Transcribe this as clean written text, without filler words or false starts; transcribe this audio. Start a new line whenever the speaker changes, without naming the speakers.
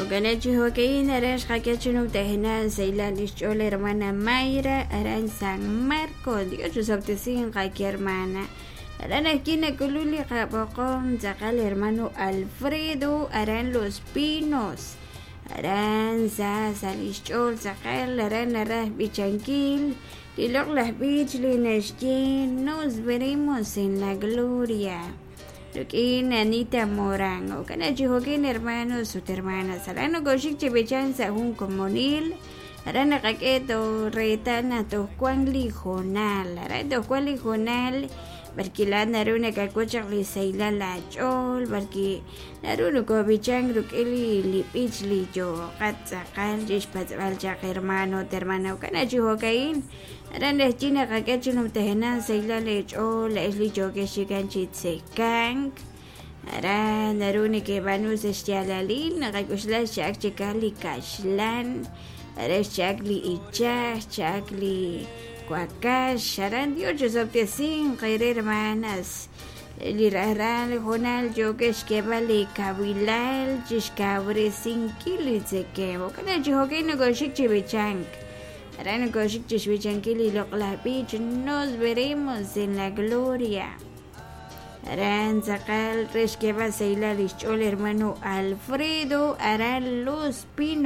Jo'kan chi jo'ka'in aran xqak'e chi numtajenaq sahilal lix ch'ool hermana Mayra aran San Marcos. Dios chusob'tesinq qaki hermana. Aran ajwi' nak'ulun li qab'oqom tz'aqal hermano Alfredo aran Los Pinos. Aran sa sa lix ch'ool tz'aqal aran naraj b'ichankil li loq'laj b'ich li naxye Nos veremos en la gloria. Rik'in Anita Morán. Jo'kan chi jo'kin hermanos ut hermanas. Aran nokoxik chi b'ichank sa' jun komonil. Aran naqak'e toj reetal naq toj wan li hoonal. Aran toj wan li hoonal b'arki laa'at naru nakawil chaq li sahilal aach'ool, b'arki naru nokob'ichank rik'in li b'ich li yooqat tz'aqal chixpatz'b'al chaq hermano ut hermana. Jo'kan chi jo'ka'in. Aran naxye naqak'e chi numtajenaq sahilal eech'ool laa'ex li yookex chikan chi tzekank. Aran naru neke'b'aanu sa' xyaalalil naqak'oxla xcha'ak chikan li kaxlan, aran xcha'ak li ichaj, xcha'ak li wakax. Aran Dios chusob'tesinq eere hermanas. Li rajlal hoonal yookex xk'eeb'al li kawilal chixkawresinkil li tzekemq. Jo'kan chi jo'kan nokoxik chi b'ichank. Aran nokoxik chixb'ichankil li loq'laj b'ich Nos veremos en la gloria. Aran tz'aqal re xk'eeb'al sahilal lix ch'ool hermano Alfredo aran Los Pinos.